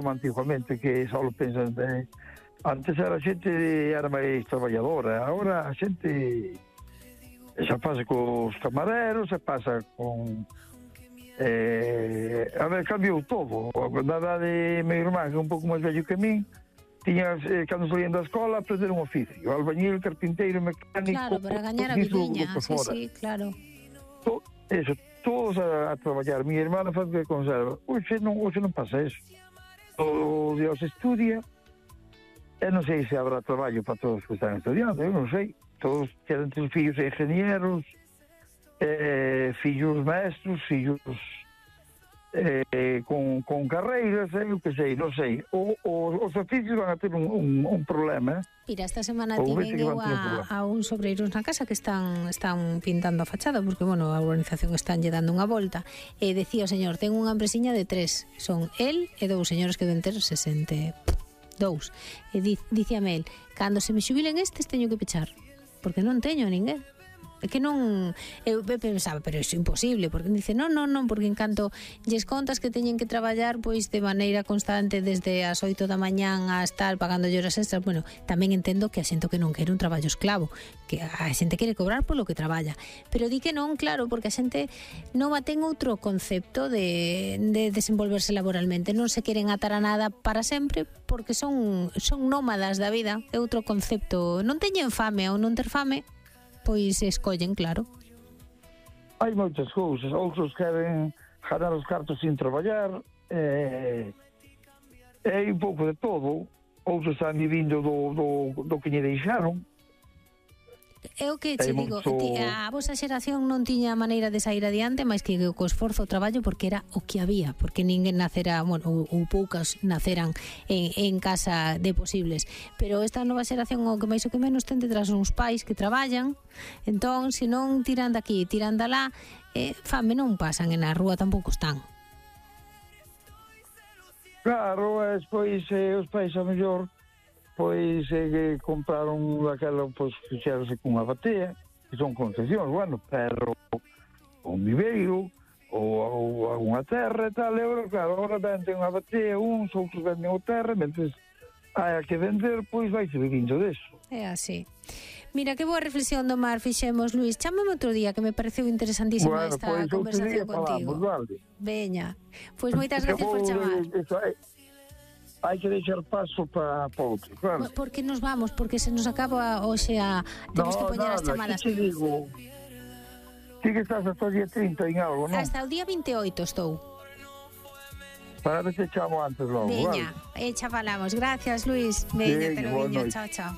como antiguamente, que só pensan antes a xente era máis traballadora, agora a xente xa pasa cos camareros, xa pasa con a ver, cambiou todo. Na edade, meu irmán, que é un pouco máis vello que min, tiña, cando salían da escola, aprender un oficio, albañil, carpinteiro, mecánico. Claro, para gañar a vidiña, sí, claro. Eso, todos a traballar. Mi hermana faz que conserva. Hoxe non pasa eso. Todo Dios estudia, e non sei se habrá traballo para todos que están estudiando, eu non sei. Todos queren ter fillos ingenieros, fillos maestros, fillos con carreiras, eu que sei, non sei. Os oficios van a ter un problema. Mira, esta semana tiven eu a uns obreiros na casa que están pintando a fachada, porque, bueno, a urbanización están lle dando unha volta, e decía o señor, ten unha empresiña de 3, son el e 2 señores que deben ter 62. E dicíame el, cando se me xubilen estes teño que pechar, porque non teño a ninguén. É que non, eu pensaba, pero iso é imposible, porque dice, non, porque en canto lles contas que teñen que traballar pois de maneira constante desde as 8 da mañán a estar pagando horas extras, bueno, tamén entendo que a xente que non quere un traballo esclavo, que a xente quere cobrar polo que traballa, pero di que non, claro, porque a xente non ten outro concepto de desenvolverse laboralmente, non se queren atar a nada para sempre, porque son nómadas da vida, é outro concepto, non teñen fame ou non ter fame, pois escollen, claro. Hai moitas cousas, outros queren ganar os cartos sin traballar, un pouco de todo, outros están vivindo do que lle deixaron. É o que che digo, a vosa xeración non tiña maneira de sair adiante máis que co esforzo o traballo, porque era o que había, porque ninguén nacera, bueno, ou poucas naceran en casa de posibles, pero esta nova xeración o que máis o que menos ten detrás uns pais que traballan, entón se non tiran daqui, tiran dalá, fame non pasan, e na rúa tampouco están. Claro, despois os pais a mellor pois compraron daquela, pois fixeronse cunha batea, que son concesións, bueno, pero un viveiro ou alguna terra e tal, claro, agora venden unha batea, outros venden o terra, mentres hai que vender, pois vai se vivindo deso. É así. Mira, que boa reflexión do mar fixemos, Luís. Chámame outro día, que me pareceu interesantísima esta conversación contigo. Vale. Veña, pois moitas gracias por chamar. Hai que deixar paso para outro, claro. Por que nos vamos? Porque se nos acaba hoxe temos que poñer as chamadas. Non, digo, ti que estás hasta o día 30 en algo, non? Hasta o día 28 estou. Para ver se chamo antes logo, veña, vale? Falamos. Gracias, Luís. Veña, te lo viño. Chao, chao.